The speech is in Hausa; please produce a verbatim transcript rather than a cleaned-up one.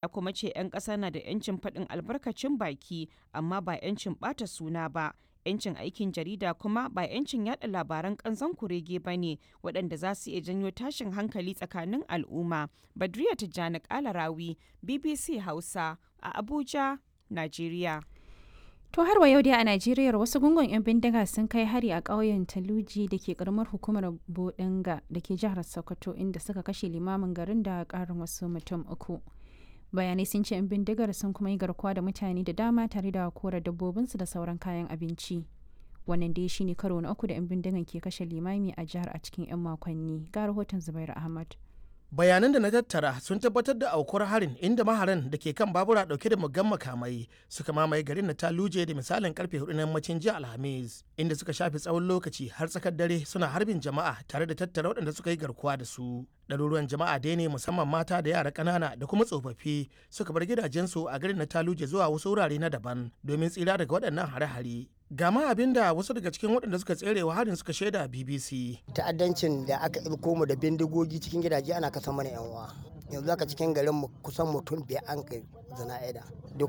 Ya kuma ce 'yan ƙasa na da 'yancin faɗin albarkacin baki amma ba 'yancin ɓata suna ba, 'yancin aikin jarida kuma ba 'yancin yaɗa labaran ƙanzon kurege ba ne waɗanda za su iya janyo tashin hankali tsakanin al'umma. Badriya Tijjani Kalarawi, B B C Hausa, a Abuja, Najeriya. To har wa yau dai a Najeriya, wasu gungun 'yan bindiga sun kai hari a ƙauyen Taluji da ke karamar hukumar Bodinga da ke jihar Sokoto, inda suka kashe limamin garin da ƙarin wasu mutum uku. Bayanai sun ce 'yan bindigar sun kuma yi garkuwa da mutane da dama tare da kora dabbobinsu da sauran kayan abinci. Wannan dai shine karo na uku da 'yan bindigan ke kashe limami a jihar a cikin 'yan makonni. Ga rahoton Zubairu Ahmad. Bayanan da na tattara sun tabbatar da aukuwar harin, inda maharan da ke kan babura dauke da muggan makamai suka mamaye garin na Taluje da misalin karfe hudu na yammacin jiya Alhamis, inda suka shafe tsawon lokaci har tsakar dare suna harbin jama'a tare da tattara waɗanda suka yi garkuwa da su. Ɗaruruwan jama'a dai ne, musamman mata da yara ƙanana da kuma tsofaffi, suka bar gidajensu a garin na Taluje zuwa wasu wurare na daban domin tsira daga waɗannan hare-hare. Gama abin da wasu daga cikin waɗanda suka tsere wa harin suka shaida B B C. Ta'addancin da aka ilko mu da bindigogi cikin gidaje ana kasa mana yan uwa. Yanzu haka cikin garin mu kusan mutum biyar an kai zana'ida duka.